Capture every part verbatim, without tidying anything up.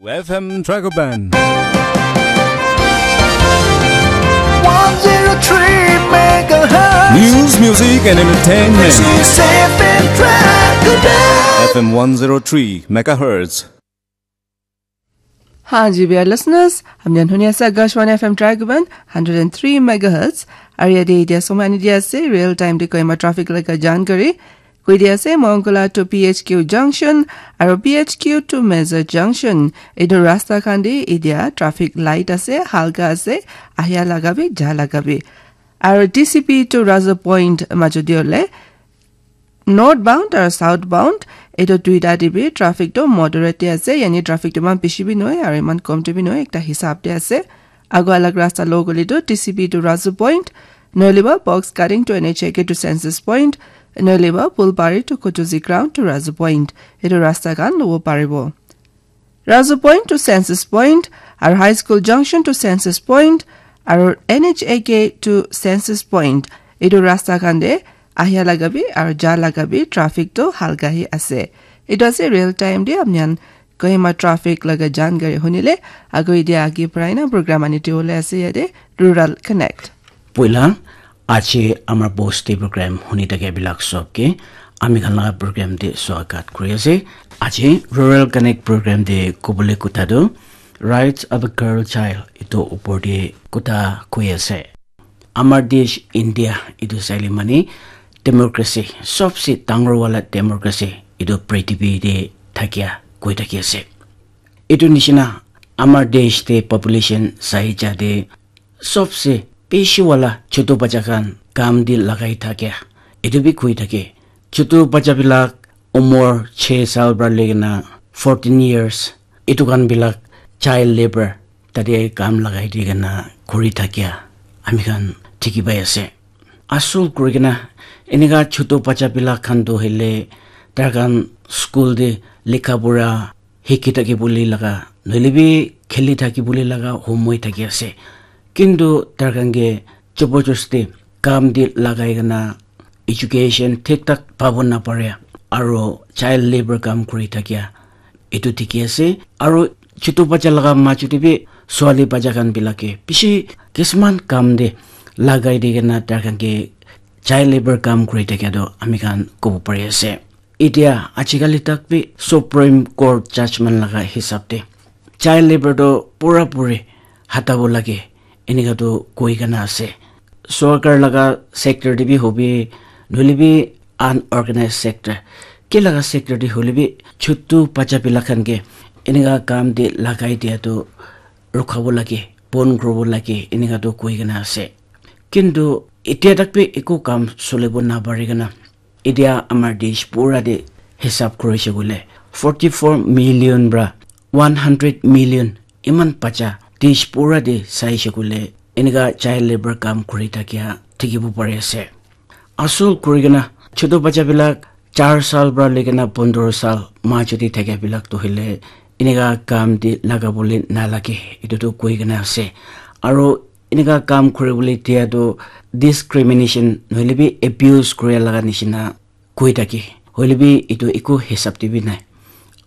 F M Dragon Band. one zero three megahertz. News, music, and entertainment. This is F M Dragon Band. F M one zero three megahertz. हाँ जी, we are listeners. Amnian huni ase Akashvani F M Dragon Band, hundred and three megahertz. Aru yate etia somai ani dia ase, real time te Kohima traffic laga jankari. Koi dia ase, Mongkola to P H Q junction, aru P H Q to Meza junction. Etu rasta khan te etia traffic light ase, halka ase, ahia laga bi, ja laga bi. Aru T C P to Raza Point majot te hoile, northbound aru southbound, etu duita te bi traffic to moderate te ase, yani traffic to iman bishi bi nohoi aru iman kom te bi nohoi, ekta hisab te ase. Agu alag rasta lo gole to T C P to Razu Point, nohole ba box cutting to N H A K to Census Point, nohole ba Pulpari to Kutuzi Ground to Razu Point. Etu rasta khan lobo paribo. Razu Point to Census Point, aru High School Junction to Census Point, aru N H A K to Census Point. Etu rasta khan te ahia laga bi aru ja laga bi traffic to halka hi ase. Etu ase real time te apni khan Kohima traffic laga jankari hunile, ago etia agi parai na program ani diwole ase yate Rural Connect. Poila, aji amar bosti program huni thake bilak sob ke ami khan laga program te swagat kuri ase. Aji Rural Connect program te kobole kotha tu Rights of a Girl Child etu upor te kotha koi ase. Amar desh India etu saile mane democracy, sobse dangor wala democracy etu prithibi te thakia koi thaki ase. Etu nishina amar desh te population sai ja te sobse bishi wala chotu bacha khan kam te lagai thakia etu bi koi thake. Chotu bacha bilak umor chhe sal para loi kena fourteen years etu khan bilak child labour tate kam lagai di kena kuri thakia ami khan dikhi pai ase. Asol kuri kena enika chotu bacha bilak khan tu hoile tar khan school te likha pura hiki thaki bole laga nohole bi kheli thaki bole laga homoi thaki ase. Kintu tar khan ke jabardasti kam te lagai kena education thik thak pabo napare aro child labour kam kuri thakia etu dikhi ase. Aro chotu bacha laga majot te bi swali bacha khan bilak ke bishi kisuman kam te lagai di kena tar khan ke child labour kam kuri thakia tu ami khan kobo pari ase. Etia ajikali tak bi Supreme Court judgment laga hisab te child labour tu pura puri hatabo lage enika tu koi kena ase. Sorkar laga sector te bi hobi nohole bi unorganized sector ke laga sector te hoile bi chotu bacha bilak khan ke enika kam te lagai dia tu rukhabo lage, bon kuribo lage enika tu koi kena ase. Kintu etia tak bi eku kam solibo napari kena etia amar desh pura te hisab kurise koile forty four million para one hundred million iman bacha desh pura te saise koile enika child labour kam kuri thakia dikhibo pari ase. Asol kuri kena chotu bacha bilak char sal para loi kena pondro sal majot te thakia bilak tu hoile enika kam te lagabole nalage etu tu koi kena ase. Aro enika kam kuribole dia tu discrimination nohole bi abuse kuri laga nishina koi thake. Hoile bi etu eku hisab te bi nai.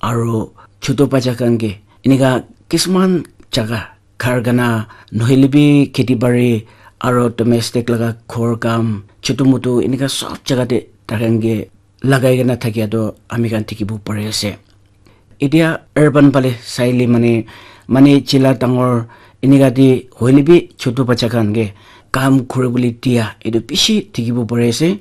Aro chotu bacha khan ke enika kisuman jaga karkhana nohole bi kheti bari aro domestic laga ghor kam chotu motu enika sob jaga te tar khan ke lagai kena thakia tu ami khan dikhibo pari ase. Etia urban phale saile mane, mane chila dangor enika te hoile bi chotu bacha khan ke kam kuribole dia etu bishi dikhibo pari ase.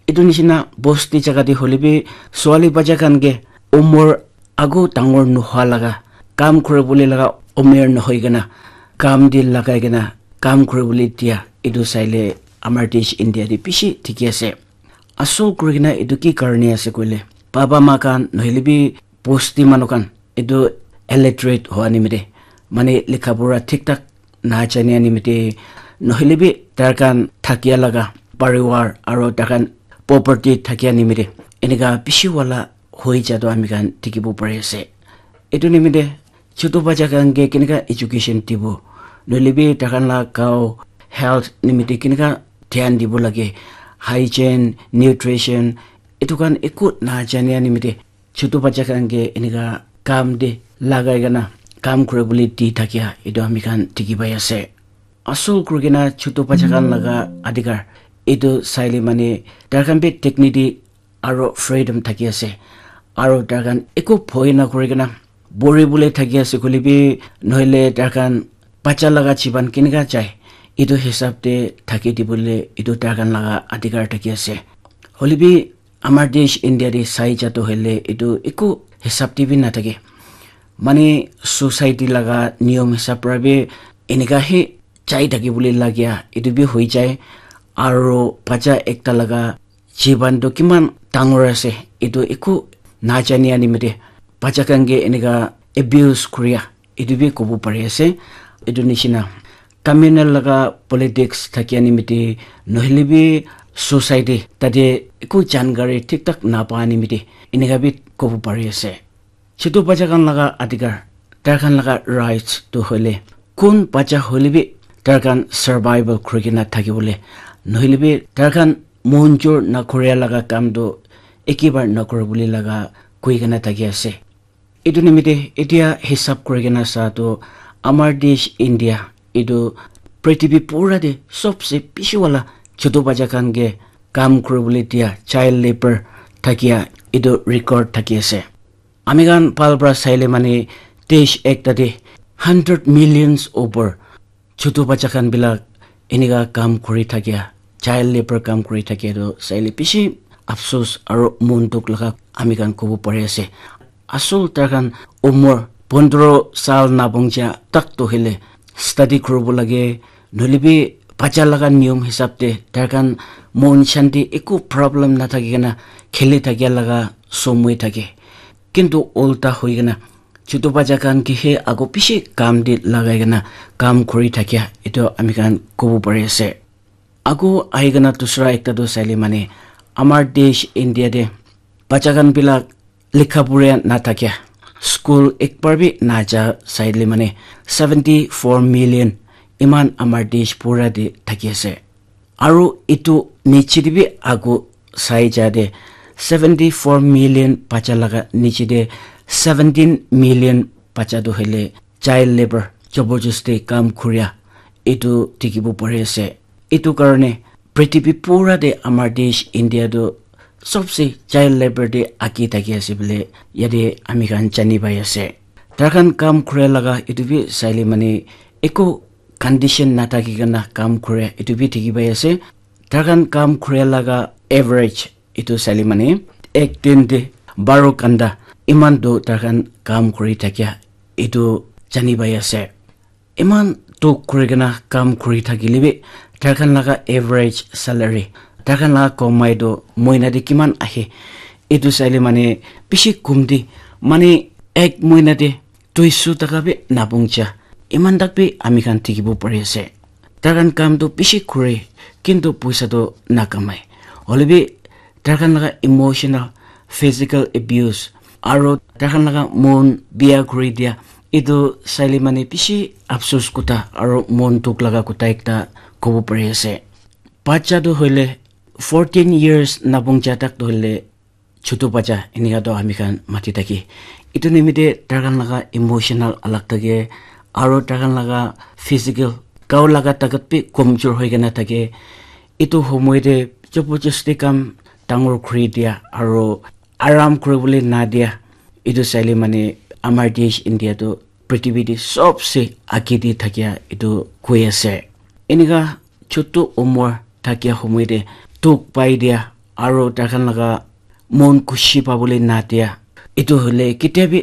Etu nishina bosti jaga te hoile bi swali bacha khan ke umor agu dangor nohua laga kam kuribole laga umor nohoi kena kam te lagai kena kam kuribole dia etu saile amar desh India te bishi dikhi ase. Asol kuri kena etu ki karne ase koile baba ma khan nohole bi bosti manu khan etu illiterate hua nimite mane likha pura thik thak na jania nimite nohole bi tar khan thakia laga parivar aro tar khan property thakia nimite enika bishi wala hoi ja tu ami khan dikhibo pari ase. Etu nimite chotu bacha khan ke kenika education dibo nohole bi tar khan la gao health nimite kenika dhyan dibo lage, hygiene, nutrition etu khan eku na jania nimite chotu bacha khan ke enika kam te lagai kena kam kuri bole di thakia etu ami khan dikhi pai ase. Asol kuri kena chutu bacha khan laga adhikar etu saile mane tar khan bi dignity aro freedom thaki ase. Aro tar khan eku bhoi na kuri kena bori bole thaki ase koile bi nohole tar khan bacha laga jiban kenika jai etu hisab te thaki dibole etu tar khan laga adhikar thaki ase. Hoile bi amar desh India te sai ja toh hoile etu eku hisab te bi nathake. Mane society laga niyom hisab para bi enika he jai thaki bole lagia etu bi hoi jai. Aro bacha ekta laga jiban toh kiman dangor ase etu eku najania nimite bacha khan ke enika abuse kuria etu bi kobo pari ase. Etu nishina communal laga politics thakia nimite nohole bi society tate eku jankari thik thak napa nimite enika bi kobo pari ase. Chutu bacha khan laga adhikar, tar khan laga rights tu hoile kun bacha hoile bi tar khan survival kuri kena thaki bole nohole bi tar khan monjur na kuria laga kam tu ekebar na kuri bole laga koi kena thaki ase. Etu nimite etia hisab kuri kena sa tu amar desh India etu prithibi pura te sobse bishi wala chutu bacha khan ke kam kuri bole dia child labor thakia etu record thaki ase. Ami khan bhal para saile mane desh ekta te hundred millions over chutu bacha khan bilak enika kam kuri thakia, child labor kam kuri thakia tu saile bishi afsus aro mon dukh laga ami khan kobo pari ase. Asol tar khan umor pondro sal nabong ja tak toh hoile study kuribo lage, nohole bi bacha laga niyom hisab te tar khan mon shanti eku problem nathaki kena kheli thakia laga somoi thake. Kintu ulta hoi kena chutu bacha khan ke he ago bishi kam te lagai kena kam kuri thakia etu ami khan kobo pari ase. Ago ahi kena dusra ekta tu saile mane amar desh India te bacha khan bilak likha pura na thakia, school ekbar bi na ja saile mane seventy four million iman amar desh pura te thaki ase. Aro etu niche te bi ago sai ja te seventy four million bacha laga niche te seventeen million bacha tu hoile child labor, jabardasti kam kuria etu dikhibo pari ase. Etu karne prithibi pura te amar desh India tu sobse child labor te age thaki ase bole yate ami khan jani pai ase. Tar khan kam kura laga etu bi saile mane eku condition nathaki kena kam kura etu bi dikhi pai ase. Tar khan kam kura laga average etu saile mane ek din te baro ghanta iman tu tar khan kam kuri thakia etu jani pai ase. Iman dukh kuri kena kam kuri thakile bi tar khan laga average salary, tar khan laga komai tu moina te kiman ahe etu saile mane bishi kom te mane ek moina te duiso taka bi nabong ja iman tak bi ami khan dikhibo pari ase. Tar khan kam tu bishi kure kintu poisa tu nakamai. Hoile bi tar khan laga emotional, physical abuse aro tar khan laga mon biya kuri dia etu saile mane bishi afsus kotha aro mon dukh laga kotha ekta kobo pari ase. Bacha tu hoile fourteen years nabong ja tak tu hoile chutu bacha enika toh ami khan mati thaki. Etu nimite tar khan laga emotional alag thake aro tar khan laga physical gao laga takat bi komjor hoi kena thake. Etu homoi te jabardasti kam dangor kuri dia aro aram kuri bole na dia. Etu saile mane amar desh India tu prithibi te sobse age te thakia etu koi ase. Enika chutu umor thakia homoi te dukh pai dia aro tar khan laga mon khushi pabole na dia. Etu hoile ketia bi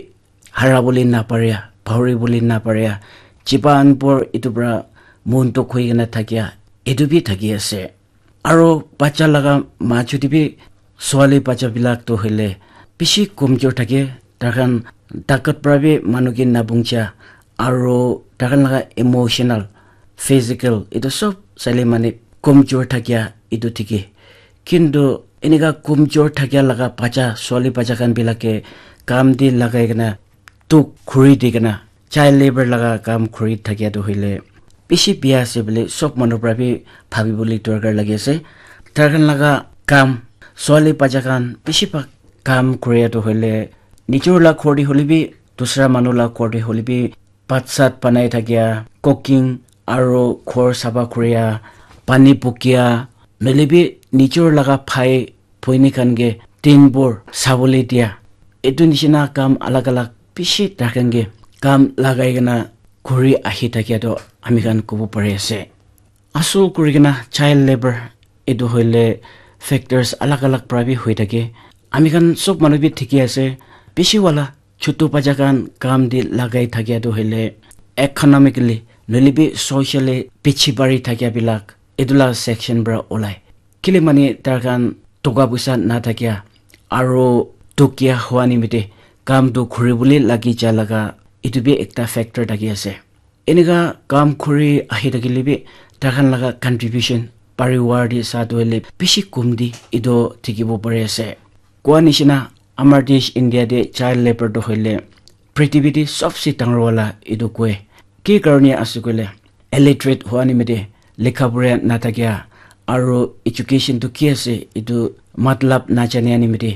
hara bole na paria, pahori bole na paria, jiban bhor etu para mon dukh hoi kena thakia etu bi thaki ase. Aro bacha laga majo te bi swali bacha bilak tu hoile bishi komjor thake, tar khan takat para bi manu ke nabong ja aro tar khan laga emotional, physical etu sob saile mane komjor thakia etu thiki. Kintu enika komjor thakia laga bacha, swali bacha khan bilak ke kam te lagai kena dukh kuri di kena child labor laga kam kuri thakia tu hoile bishi bia ase bole sob manu para bi bhabi bole dorkar lagi ase. Tar khan laga kam swali bacha khan bishi bhag kam kuria tu hoile nijor la ghor te hoile bi dusra manu la ghor te hoile bi bhat sat banai thakia, cooking, aro ghor sapha kuria, pani bukia, noile bi nijor laga bhai bhoini khan ke dinbhor sabole dia. Etu nishina kam alag alag bishi taikhan ke kam lagai kena kuri ahi thakia toh ami khan kobo pari ase. Asol kuri kena child labour etu hoile factors alag alag para bi hoi thake. Ami khan sob manu bi thiki ase, bishi wala chutu bacha khan kam te lagai thakia tu hoile economically noile bi socially piche pari thakia bilak etu la section para olai. Kile mane tar khan toka puisa na thakia aro tokia hua nimite kam tu khuri bole lagi ja laga etu bi ekta factor thaki ase. Enika kam khuri ahi thakile bi tar khan laga contribution pariwar te sa tu hoile bishi kum di etu dikhibo pari ase. Koa nishina amar desh India te child labour tu hoile prithibi te sobse dangor wala etu koi. Ki karone ase koile illiterate hua nimite lekha pura na thakia aro education tu ki ase etu matlab na jania nimite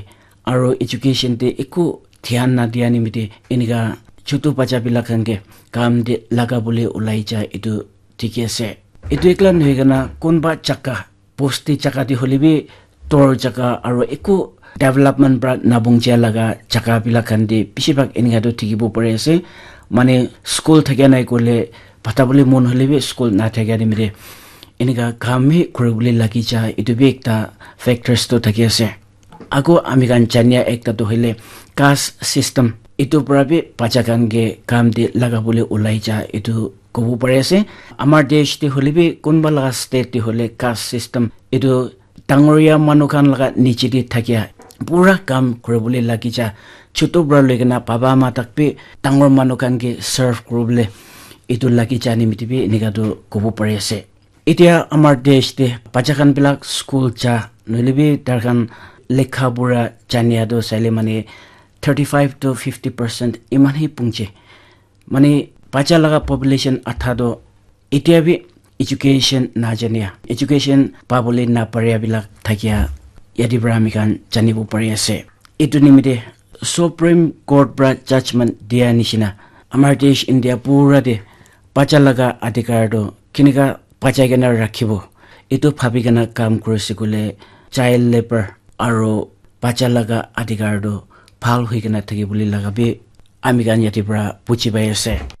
aro education te eku dhyan na dia nimite enika chutu bacha bilak khan ke kam te laga bole ulai ja etu dikhi ase. Etu ekla nohoi kena kunba jaka bosti jaka te hoile bi tor jaka aro eku development para nabong jia laga jaka bilak khan te bishi bhag enika tu dikhibo pari ase. Mane school thakia nai koile pata bole mon hoile bi school na thakia nimite enika kam hi kuri bole lagi ja etu bi ekta factors tu thaki ase. Ago ami khan jania ekta tu hoile caste system etu para bi bacha khan ke kam te laga bole ulai ja etu kobo pari ase. Amar desh te hoile bi kunba laga state te hoile caste system etu dangoria manu khan laga niche te thakia pura kam kuri bole lagi ja chutu para loi kena baba ma tak bi dangor manu khan ke serve kuri bole etu lagi ja nimite bi enika tu kobo pari ase. Etia amar desh te bacha khan bilak school ja noile bi tar khan lekha pura jania tu saile mane thirty five to fifty percent iman hi punche. Mane bacha laga population adha tu etia bi education na jania, education pabole na paria bilak thakia yate para ami khan janibo pari ase. Etu nimite Supreme Court para judgment dia nishina amar desh India pura te bacha laga adhikar tu kenika bachai kena rakhibo etu bhabi kena kam kuri ase koile child labour aro bacha laga adhikar tu bhal hoi kena thaki bole laga bi ami khan yate para buji pai ase.